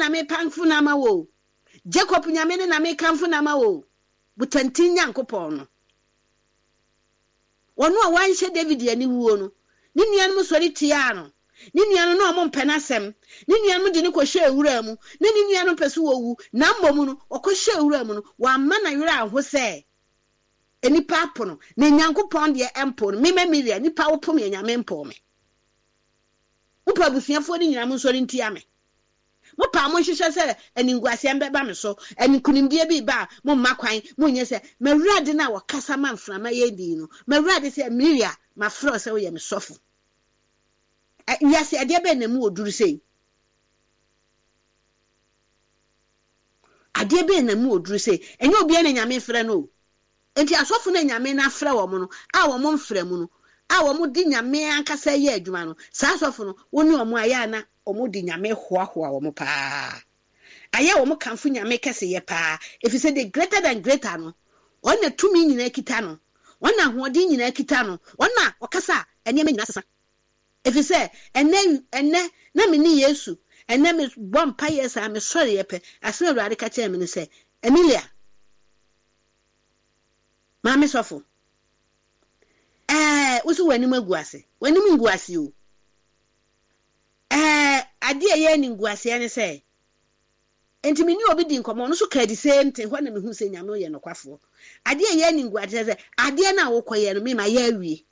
na mekamfo no ama wo o. Jacob Nyame no na mekamfo no ama wo o. Botantin Nyankopɔn no. Ɔno a wanhyɛ David aniwuo no, ne nuanom sɔre tiaa no. Ne nuanom, na wɔmpɛ n'asɛm. Ne nuanom de no kɔhyɛɛ wura mu. Na ne nuanom pɛ sɛ ɔwu, na mmom no, ɔkɔhyɛɛ wura mu no, wamma n'awerɛ anho sɛ nnipa apo no, na Nyankopɔn deɛ ɛmpoo no. Me Memilia, nnipa wopo me a, Nyame mpoo me. Mopɛ abusuafoɔ no nyinaa monsɔre ntia me. Mopɛ a monhyehyɛ sɛ animguaseɛ mbɛba me so, nkonimdie bi reba a, momma kwan, monyɛ sɛ m'Awurade no a ɔkasa ma mframa yɛ dinn no. M'Awurade sɛ, Miria, mafrɛ wo sɛ woyɛ me sɔfo. Ɛ, wiase, adeɛ bɛn na emu wɔ duru sei? Adeɛ bɛn na emu wɔ duru sei? Ɛnyɛ obiara na Nyame frɛ no o. Enti asɔfo no a Nyame no afrɛ wɔn no, a wɔn mfra mu no, a wɔn de Nyame ankasa yɛ adwuma no, saa asɔfo no, wo ne wɔn ayɛ a na wɔn de Nyame hoahoa wɔn paa. Ayɛ a wɔn kamfo Nyame kɛseyɛ paa, efisɛ the greater than greater no, Ɔno na tumi nyinaa kita no, Ɔno na ahoɔden nyinaa kita no, Ɔno na ɔkasa a nneɛma nyinaa sesa. Efisɛ ɛnnɛ, ɛnnɛ, na me ne Yesu, ɛnnɛ me bɔ mpaeɛ saa, me sɔreɛ pɛ, asɛm a Awurade ka kyerɛɛ me ne sɛ, Emilia, Maame sɔfo, ɛɛ, wo so w'anim agu ase. W'anim ngu ase o. Ɛɛ, adeɛ a ɛyɛ animguaseɛ ne sɛ, nti me ne obi di nkɔmmɔ, ɔno nso kaa the same thing, hɔ na mehu sɛ Nyame ɔyɛ nokwafoɔ. Adeɛ a ɛyɛ animguaseɛ sɛ, adeɛ no a wokɔyɛ no, me mayɛ awie.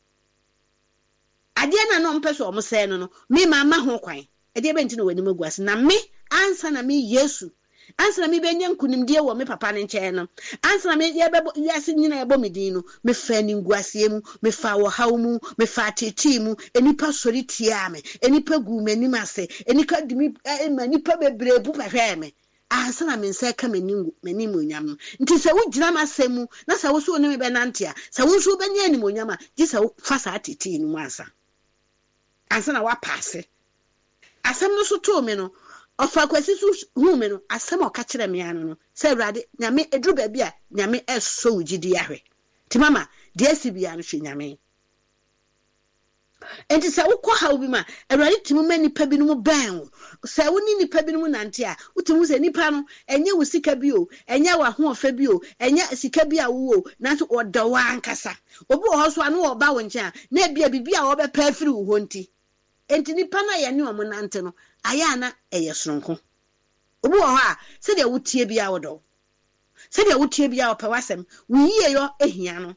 Adeɛ no a na wɔpɛ sɛ wɔsɛe no no, me mamma ho kwan. Ɛdeɛ bɛn nti na w'anim agu ase? Na me, ansa na me Yesu, ansa na mebɛnya nkonimdie wɔ me papa no nkyɛn no, ansa na me, yɛbɛbɔ, wiase nyinaa ɛbɔ me din no, mefaa animguaseɛ mu, mefaa ɔhaw mu, mefaa ateetee mu, nnipa sɔre tiaa me, nnipa guu m'anim ase, nnipa de me, ma nnipa bebree bu bɛhwɛɛ me, ansa na me nsa reka m'animuonyam no. Nti sɛ wogyina m'asɛm mu, na sɛ wo nso wo ne me bɛnante a, sɛ wo nso wobɛnya animuonyam a, gye sɛ wofa saa ateetee no mu ansa. Ansa na woapaase. Asɛm no so too me no, Ɔfa Kwasi so huu me no, asɛm a ɔka kyerɛɛ me ara no no, sɛ Awurade, Nyame, ɛduru baabi a, Nyame resɔ wo gyidie ahwɛ. Nti mama, deɛ asi biara no, hwɛ Nyame. Enti sɛ wokɔ haw bi mu a, Awurade tumi ma nnipa binom bɛn wo. Sɛ wo ne nnipa binom nante a, wotumi hu sɛ nnipa no, ɛnyɛ wo sika bi o, ɛnyɛ w'ahoɔfɛ bi o, ɛnyɛ sika bi a wowɔ o, nanso wɔdɔ wo ankasa. Obi wɔ hɔ nso a, na ɔba wo nkyɛn a, na ebia biribi a ɔbɛpɛ afiri wo hɔ nti. Enti nnipa no a yɛne wɔn nante no, ayɛ a na ɛyɛ soronko. Obi wɔ hɔ a, sɛdeɛ woteɛ biara ɔdɔ wo. Sɛdeɛ woteɛ biara ɔpɛ w'asɛm. Wo yieyɔ hia no.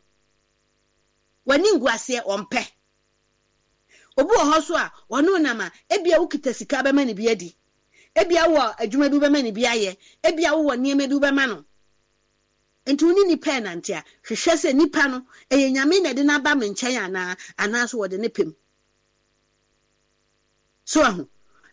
W'aninguaseɛ, ɔmpɛ. Obi wɔ hɔ nso a, ɔne wo nam a, ebia wokita sika wobɛma no bi adi. Ebia wowɔ adwuma bi wobɛma no bi ayɛ. Ebia wowɔ nneɛma bi wobɛma no. Nti wo ne nipa renante a, hwehwɛ sɛ nipa no, ɛyɛ Nyame na ɛde no aba me nkyɛn anaa, anaasɛ wɔde no pɛ mu. So wahu?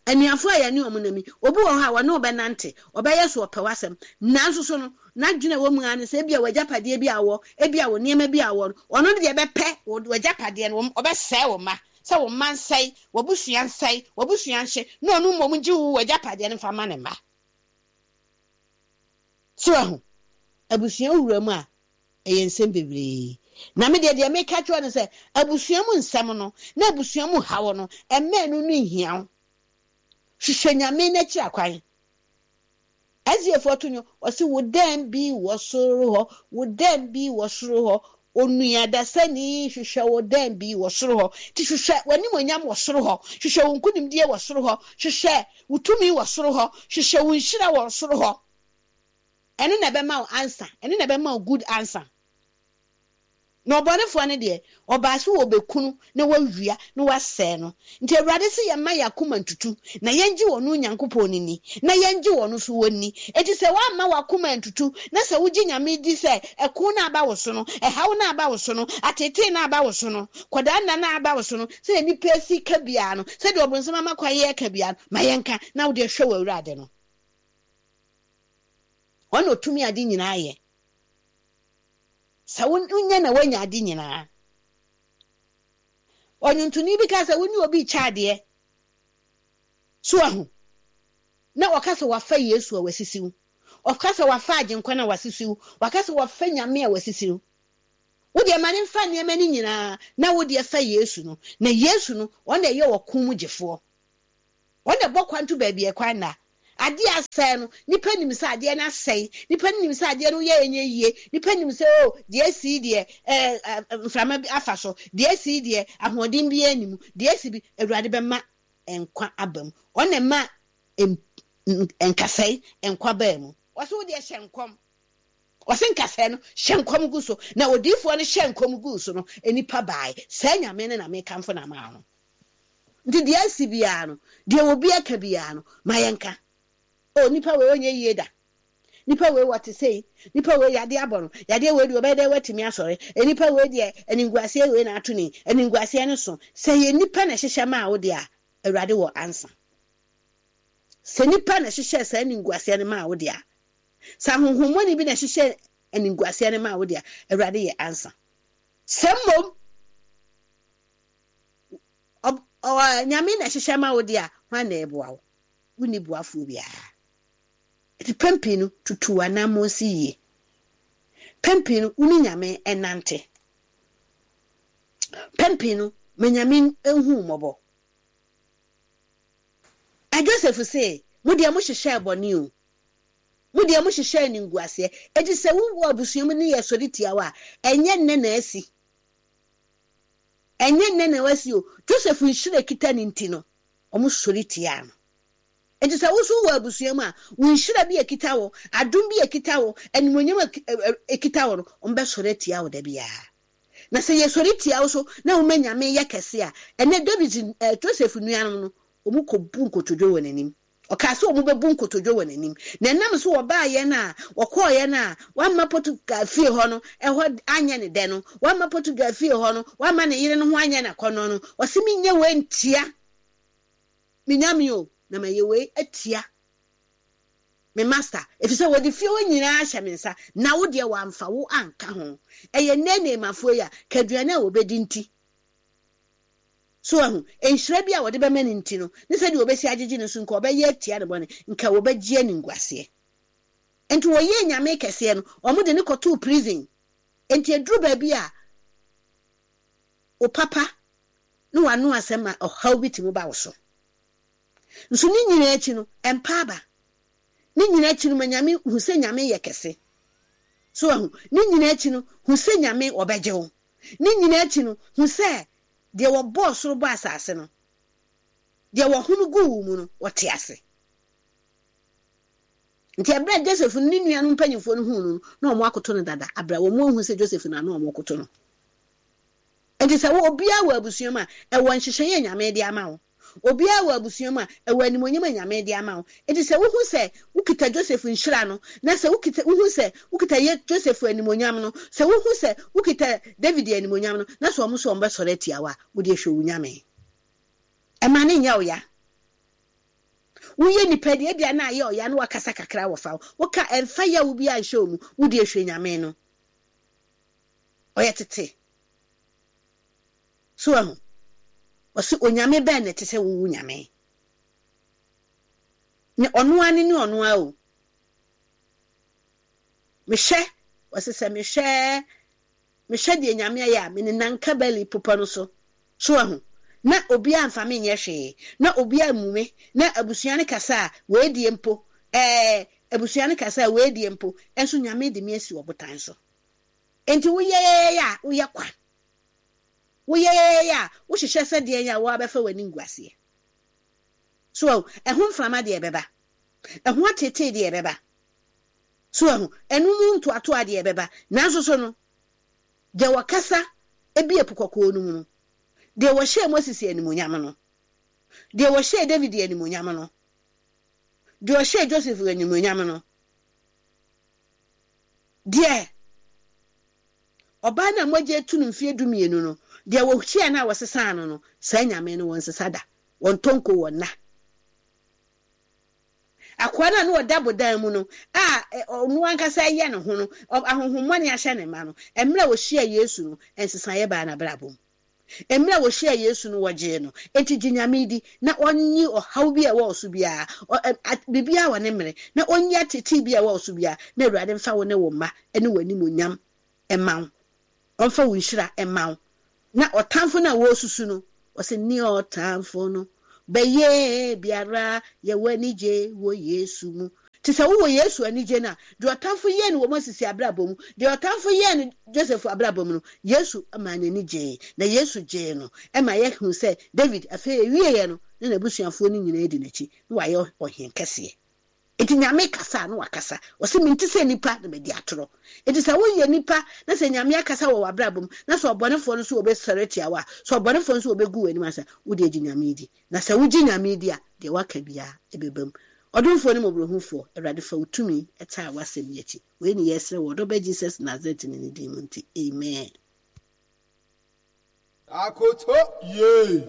Anuafo a yɛne wɔn nam yi, obi wɔ hɔ a, ɔne wo bɛnante, ɔbɛyɛ so ɔpɛ w'asɛm, nanso so no, n'adwene a ɛwɔ mu ara ne sɛ ebia w'agyapadeɛ bi a wowɔ, ebia wo nneɛma bi a wowɔ no, ɔno deɛ bɛpɛ w'agyapadeɛ no, ɔbɛsɛe wo mma, sɛ wo mma nsɛe, w'abusua nsɛe, w'abusua nhye, na ɔno mmom ngye wo w'agyapadeɛ no mfa mma ne mma. So wahu? Abusua wura mu a, Ɛyɛ nsɛm bebree. Na me deɛ, deɛ meka kyerɛ wo ne sɛ, abusua mu nsɛm no, na abusua mu haw no, mma ɛno no nhia wo. Hwehwɛ Nyame no akyiri akwan. SDA foɔ to nnwom, wɔse, Wo dɛn bi wɔ soro hɔ, wo dɛn bi wɔ soro hɔ, onua dasani hwehwɛ wo dɛn bi wɔ soro hɔ. Nti hwehwɛ w'animuonyam wɔ soro hɔ, hwehwɛ wo nkunimdie wɔ soro hɔ, hwehwɛ wo tumi wɔ soro hɔ, hwehwɛ wo nhyira wɔ soro hɔ. Ɛno na ɛbɛma wo answer, ɛno na ɛbɛma wo good answer. Na ɔbɔnefoɔ no deɛ, ɔbaa sɛ ɔrebɛku no na wawia na wasɛe no. Nti Awurade se yɛmma yɛn akoma ntutu, na yɛngye ɔno Nyankopɔn no nni, na yɛngye ɔno nso hɔ nni. Enti sɛ woamma w'akoma antutu, na sɛ wogye Nyame di sɛ ɛko no a aba wo so no, ɛhaw no a aba wo so no, ateetee no a aba wo so no, kɔdaa nna no a aba wo so no, sɛdeɛ nnipa si ka biara no, sɛdeɛ ɔbonsam ama kwan yɛreka biara no, ma yɛnka, na wo deɛ hwɛ w'Awurade no. Ɔno na ɔtumi ade nyinaa yɛ. Sɛ wonya na woanya ade nyinaa. Ɔnwontoni bi ka sɛ wo ne obi rekyɛ adeɛ. So ahu? Na ɔka sɛ wafa Yesu a wasisi wo. Ɔka sɛ wafa Agyenkwa no a wasisi wo. Waka sɛ wafa Nyame a wasisi wo. Wo deɛ ma no mfa nneɛma no nyinaa na wo deɛ fa Yesu no. Na Yesu no, ɔno na ɛyɛ ɔko mu gyefoɔ. Ɔno na ɛbɔ kwan to baabi a ɛkwan nna. Adeɛ a asɛe no, nnipa nim sɛ adeɛ no asɛe. Nnipa no nim sɛ adeɛ no woyɛ a ɛnyɛ yie. Nnipa nim sɛ oh, deɛ asi yi deɛ, eh, mframa bi afa so. Deɛ asi yi deɛ, ahoɔden biara nni mu. Deɛ asi bi, Awurade bɛma nkwa aba mu. Ɔno na ɛma nkasɛe nkwa baa mu. Ɔse wo deɛ hyɛ nkɔm. Ɔse nkasɛɛ no, hyɛ nkɔm gu so. Na odiyifoɔ no hyɛɛ nkɔm guu so no, nnipa baae. Saa Nyame no na mekamfo no ama wo no. Nti deɛ asi biara no, deɛ obi aka biara no, ma yɛnka. Oh, nipa wei ɔnyɛ yie da. Nipa wei wɔte sei. Nipa wei yadeɛ abɔ no. Yadeɛ wei deɛ ɔbɛyɛ dɛn watumi asɔre. Nipa wei deɛ animguaseɛ wei na ato ne yi. Animguaseɛ no so. Sɛ ɛyɛ nipa na ɛhyehyɛ maa wo deɛ a, Awurade wɔ ansa. Sɛ nipa na ɛhyehyɛɛ saa animguaseɛ no maa wo deɛ a, sɛ ahonhommɔne bi na ɛhyehyɛɛ animguaseɛ no maa wo deɛ a, Awurade yɛ ansa. Sɛ mmom Nyame na ɛhyehyɛ ma wo deɛ a, hwan na ɛboa wo? Wonni boafoɔ biara. Nti pɛn pii no, tutu w'anammɔn si yie. Pɛn pii no, wo ne Nyame nnante. Pɛn pii no, ma Nyame nhu wo mmɔbɔ. Na Joseph se, Mo deɛ mohyehyɛɛ bɔne o, mo deɛ mohyehyɛɛ animguaseɛ. Enti sɛ wowɔ abusua mu ne yɛsɔre tia wo a, ɛnyɛ nnɛ na asi. Ɛnyɛ nnɛ na wasi o. Joseph nhyira a ɛkita no nti no, wɔsɔre tiaa no. Enti sɛ wo nso wowɔ abusua mu a, wo nhyira bi a ɛkita wo, adom bi a ɛkita wo, animuonyam a ɛkita wo no, wɔbɛsɔre atia wo da biara. Na sɛ yɛsɔre tia wo so na woma Nyame yɛ kɛse a, ɛnnɛ David, eh, Joseph nuanom no, wɔkɔbu nkotodwe wɔ n'anim. Ɔkaa sɛ wɔbɛbu nkotodwe wɔ n'anim. Na ɛnam so wɔbaeɛ no a, wɔkɔeɛ no a, wamma Potiphar fie hɔ no, ɛhɔ anyɛ ne dɛ no, wamma Potiphar fie hɔ no, wamma ne yere no ho anyɛ no akɔnnɔ no, ɔse menyɛ wei ntia me nyame o, na mayɛ wei atia me master, ɛfiri sɛ wɔde fie hɔ nyinaa ahyɛ me nsa, na wo deɛ wamfa wo anka ho. Ɛyɛ nnɛ Naamanfoɔ yi a, ka aduane a wɔbɛdi nti. So wahu? Nhyira bi a wɔde bɛma no nti no, ne sɛdeɛ wɔbɛsi agyegye no nso, nka ɔbɛyɛ atia ne bɔne, nka wɔbɛgye animguaseɛ. Nti wɔyɛɛ Nyame kɛseɛ no, wɔde no kɔtoo prison. Nti ɛduru baabi a, wo papa ne w'ano asɛm ma ɔhaw bi tumi ba wo so. Nso ne nyinaa akyi no, ɛmpa aba. Ne nyinaa akyi no, ma Nyame, hu sɛ Nyame yɛ kɛse. So wahu? Ne nyinaa akyi no, hu sɛ Nyame ɔbɛgye wo. Ne nyinaa akyi no, hu sɛ deɛ wɔbɔɔ soro bɔɔ asase no, deɛ wɔhome guu wo mu no, ɔte ase. Nti ɛberɛ a Joseph ne ne nuanom mpanyimfoɔ no huu no no, na wɔn akoto no dada, aberɛ a wɔn anhu sɛ Joseph na na wɔn koto no. Nti sɛ wo obiara wɔ abusua mu a, ɛwɔ nhyehyɛeɛ a Nyame de ama wo. Obiara wɔ abusua mu a, ɛwɔ animuonyam a Nyame de ama wo. Enti sɛ wohu sɛ wokita Joseph nhyira no, na sɛ wokita, wohu sɛ wokita ye, Joseph animuonyam no, sɛ wohu sɛ wokita David animuonyam no, na sɛ wɔn nso wɔbɛsɔre atia wo a, wo deɛ hwɛ wo Nyame. Ɛma no nyɛ wo ya. Woyɛ nipa deɛ, ebia na ayɛ ɔya na wakasa kakra wɔ fa ho. Woka, ɛmfa yaw biara nhyɛ wo mu. Wo deɛ hwɛ Nyame no. Ɔyɛ tete. So wahu? Ɔse, Onyame bɛn na ɛte sɛ wo wo Nyame? Ne ɔno ara ne ne ɔno ara o. Mehwɛ, ɔse sɛ mehwɛ, mehwɛ deɛ Nyame ayɛ a, menenam Kabali popɔ no so. So wahu? Na obiara mfa me nyɛ hwee, na obiara mmu me, na abusua no kasa a, wei deɛ mpo, ɛɛ, abusua no kasa a, wei deɛ mpo, nso Nyame de me asi ɔbotan so. Enti woyɛyɛyɛ a, woyɛ kwa. Woyɛyɛyɛ a, wohyehyɛ sɛ deɛn a woabɛfa w'aninguaseɛ. So wahu? Ɛho mframa deɛ ɛbɛba. Ɛho ateetee deɛ ɛbɛba. So wahu? Ɛno mu ntoatoa deɛ ɛbɛba. Nanso so no, deɛ wɔkasa bie Po Kɔkɔɔ no mu no, deɛ wɔhyɛɛ Moses animuonyam no, deɛ wɔhyɛɛ David animuonyam no, deɛ ɔhyɛɛ Joseph animuonyam no, deɛ Ɔbaa no a mogya atu no mfeɛ dumienu no, deɛ wɔhyiaa no a wɔsesaa no no, saa Nyame no, wɔnsesa da, wɔntɔ nko, wɔnna. Akoa no a na ɔda bodan mu no, a ɔno ankasa reyɛ ne ho no, ahonhommɔne ahyɛ ne ma no, mmerɛ a ɔhyiaa Yesu no, nsesaeɛ baa n'abrabɔ mu. Mmerɛ a wɔhyiaa Yesu no, wɔgyee no. Enti gye Nyame di, na ɔnyi ɔhaw bi a ɛwɔ wo so biara, biribiara wɔ ne mmere, na ɔnyi ateetee bi a ɛwɔ wo so biara, na Awurade mfa wo ne wo mma ne w'animuonyam mma wo. Ɔmfa wo nhyira mma wo. Na ɔtamfo no a wɔresusu no, ɔse, Ne ɔtamfo no. Bɛyɛ biara yɛwɔ anigye wɔ Yesu mu. Te sɛ wowɔ Yesu anigye no a, deɛ ɔtamfo yɛɛ no wɔ Moses abrabɔ mu, deɛ ɔtamfo yɛɛ no Joseph abrabɔ mu no, Yesu maa n'ani gyee, na Yesu gyee no ma yɛhuu sɛ David afei ɛwieɛ no na n'abusuafoɔ no nyinaa di n'akyi, na wayɛ ɔhen kɛseɛ. Enti Nyame kasa a na wakasa. Ɔse mente sɛ nipa na madi atorɔ. Enti sɛ woyɛ nipa na sɛ Nyame akasa wɔ w'abrabɔ mu na sɛ ɔbɔnefoɔ no nso ɔbɛsɔre atia wo a, sɛ ɔbɔnefoɔ nso ɔbɛgu w'anim ase a, wodeɛ gye Nyame di. Na sɛ wogye Nyame di a, deɛ waka biara ɛbɛba mu. Ɔdomfoɔ ne mmɔborɔhufoɔ, Awurade fa wo tumi taa w'asɛm yi akyi. Wei ne yɛsrɛ wɔ ɔdɔ ba Jesus Nazaretni no din mu nti, amen. Akoto yee.